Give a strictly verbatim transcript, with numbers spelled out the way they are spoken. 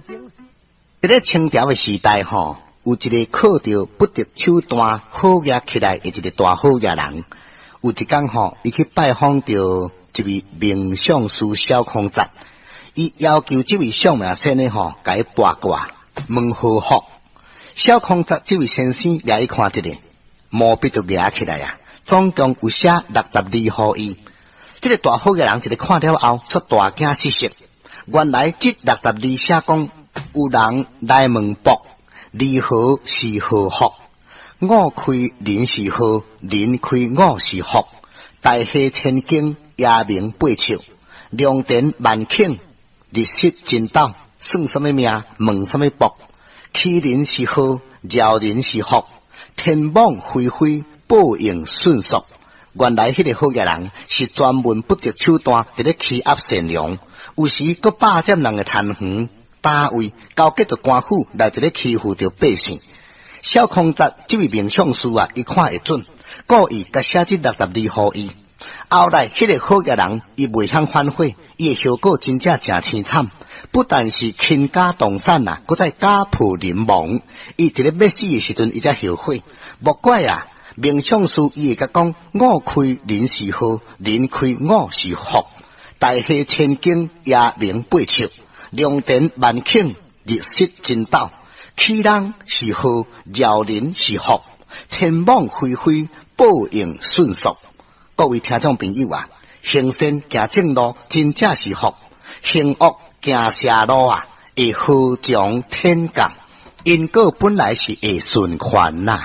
佇咧清朝的時代吼，有一个靠著不擇手段好額起來的一个大好額人。有一工吼，伊去拜訪著一位命相師小空節，伊要求這位相命先生吼，共伊卜卦問禍福。小空節這位先生掠伊看一下，毛筆就舉起來啊，總共有寫六十二予伊。這个大好額人一个看了後，煞大驚失色。原來這六十二寫講，有人來問卜，如何是禍福？五開人是禍，人開五是福。大下千金，夜明八尺，良田萬頃，日失真斗，算啥物命？問啥物卜？欺人是禍，饒人是福。天網恢恢，報應迅速。原來彼个好額人是專門不擇手段，佇咧欺壓善良，有時閣霸佔人的田園、單位，勾結著官府來佇咧欺負著百姓。小空節這位命相師啊，伊看會準，故意共寫這六十二予伊。後來，彼个好額人伊袂曉反悔，伊的後果真正誠凄慘。不但是傾家蕩產啊，閣再家破人亡。伊佇咧欲死的時陣，伊才後悔。莫怪啊，命相師伊會共講：五開人是禍，人開五是福。大下千金，夜明八尺，良田萬頃，日失真斗。欺人是禍，饒人是福。天網恢恢，報應迅速。各位聽眾朋友啊，行善行正路，真正是福；行惡行邪路啊，會禍從天降。因果本來是會循環呐。